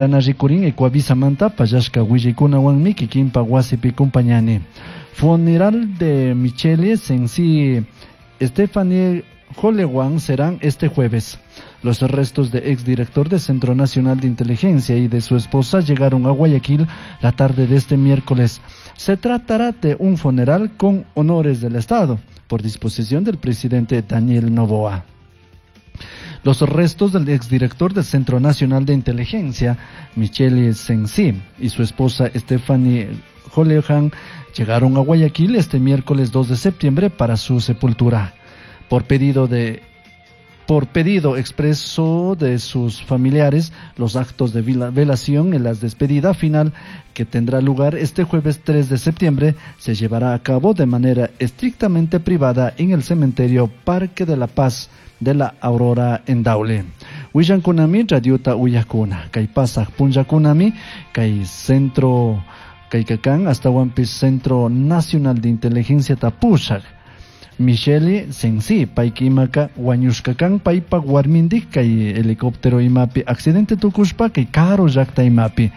Rikurin Ecuavisamanta pallashka willaykunawanmi kikinpa wasipi kumpañani. Funeral de Michele Sensi Stephanie Jolewan serán este jueves. Los restos de exdirector del Centro Nacional de Inteligencia y de su esposa llegaron a Guayaquil la tarde de este miércoles. Se tratará de un funeral con honores del Estado, por disposición del presidente Daniel Noboa. Los restos del exdirector del Centro Nacional de Inteligencia, Michele Sensi, y su esposa Stephanie Jolehan llegaron a Guayaquil este miércoles 2 de septiembre para su sepultura. Por pedido expreso de sus familiares, los actos de velación en la despedida final que tendrá lugar este jueves 3 de septiembre se llevará a cabo de manera estrictamente privada en el cementerio Parque de la Paz de la Aurora en Daule. Willankunami radiota uyakuna, kay pasaj punllakunami, kay centro, kay kakan hasta Centro Nacional de Inteligencia tapushak. Michele Sensi, payka imaka wañushka kan paypak warmindik kay helicóptero imapi accidente tukushpa kay karu llakta imapi.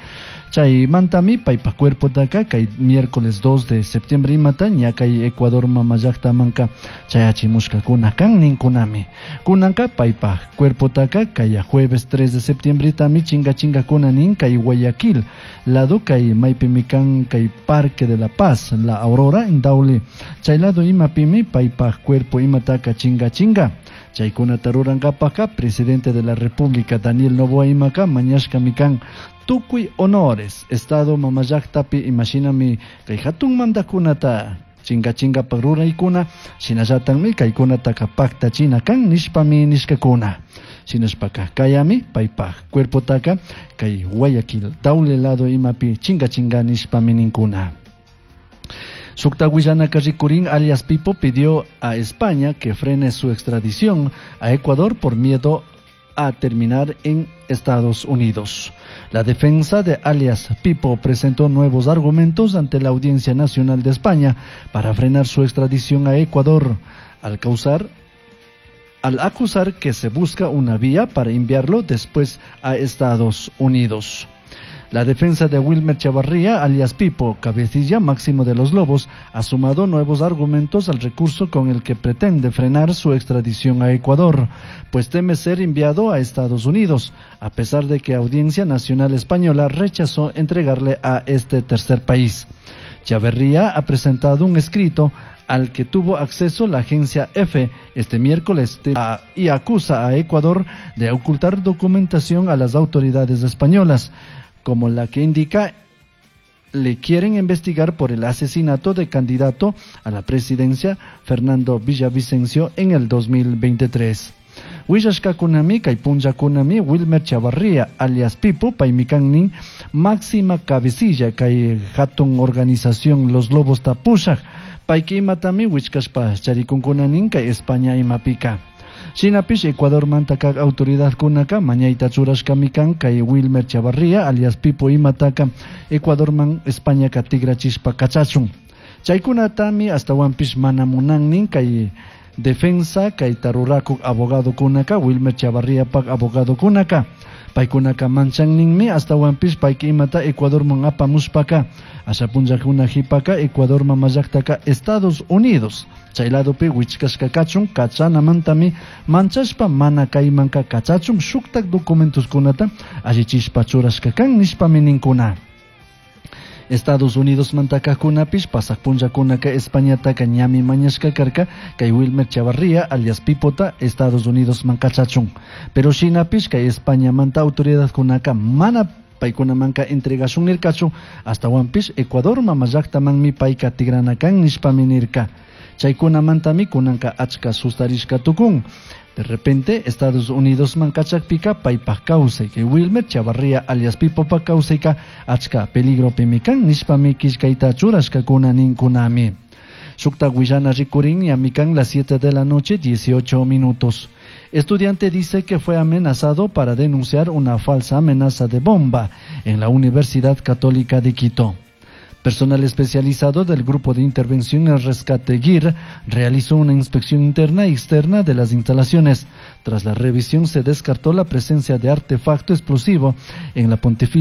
Chaymantami paypak cuerpotaka kay miércoles 2 de septiembre imata ña kay Ecuador mama llaktamanka chayachimushkakuna kan ninkunami. Kunanka paypak cuerpotaka kay jueves 3 de septiembre tami chinga chingakuna nin kay Guayaquil lado kay maypimi kan kay Parque de la Paz, la Aurora en Daule. Chay lado imapimi paypak cuerpo imataka chinga chinga. Chaykunata rurankapaka presidente de la República Daniel Noboa imaka mañashkami kan tukuy honores Estado mama llaktapi imashinami kay hatun mandakunata chinga chingapak ruraykuna shinallatakmi kaykunataka paktachina kan nishpami nishkakuna. Shinashpaka kayami paypak cuerpotaka kay Guayaquil Daule lado imapi chinga chinga nishpami ninkuna. Sukta Willanaka rikurin alias Pipo pidió a España que frene su extradición a Ecuador por miedo a terminar en Estados Unidos. La defensa de alias Pipo presentó nuevos argumentos ante la Audiencia Nacional de España para frenar su extradición a Ecuador, al acusar que se busca una vía para enviarlo después a Estados Unidos. La defensa de Wilmer Chavarría, alias Pipo, cabecilla máximo de los Lobos, ha sumado nuevos argumentos al recurso con el que pretende frenar su extradición a Ecuador, pues teme ser enviado a Estados Unidos, a pesar de que Audiencia Nacional Española rechazó entregarle a este tercer país. Chavarría ha presentado un escrito al que tuvo acceso la agencia EFE este miércoles y acusa a Ecuador de ocultar documentación a las autoridades españolas, como la que indica le quieren investigar por el asesinato de candidato a la presidencia Fernando Villavicencio en el 2023. Willashkakunami kay punllakunami Wilmer Chavarría alias Pipo paymi kan nin máxima cabecilla kay hatun organización Los Lobos tapushak payka imatami wichkashpa charikunkunanin kay España imapika. Shinapish Ecuador mantaka autoridad kunaka mañayta churashkami kan kay Wilmer Chavarría alias Pipo imataka Ecuador man España ka tigrachishpa kachachun. Chaykunatami astawanpish mana munannin kay defensa kay tarurakuk abogado kunaka Wilmer Chavarría pak abogado kunaka. Paykunaka manchanninmi astawanpish payka imata Ecuador man apamushpaka asha punllakuna hipaka Ecuador mama llaktaka Estados Unidos. Chay ladopi wichkashka kachun kachanamantami manchashpa mana kaymanka kachachun shuktak documentoskunata allichishpa churashka kan nishpami ninkuna. Estados Unidos mantakakunapish pasaq punllakunaka Españataka ñami mañashka karka kay Wilmer Chavarría alias Pipota Estados Unidos man kachachun. Pero shinapish kay España manta autoridadkunaka mana paykunamanka entregashun nirkachu astawanpish Ecuador mama llaktamanmi payka tigranakan nishpami nirka. Chaykunamantami kunanka achka sustarishka tukun. De repente, Estados Unidos man kachakpika paypak kawsay kay Wilmer Chavarría alias Pipopa kawsayka achka peligropimi kan nishpami killkayta churashkakuna ninkunami. Shukta willana rikurin ñami kan las 7 de la noche 18 minutos. Estudiante dice que fue amenazado para denunciar una falsa amenaza de bomba en la Universidad Católica de Quito. Personal especializado del Grupo de Intervención en Rescate GIR realizó una inspección interna y externa de las instalaciones. Tras la revisión se descartó la presencia de artefacto explosivo en la Pontificia.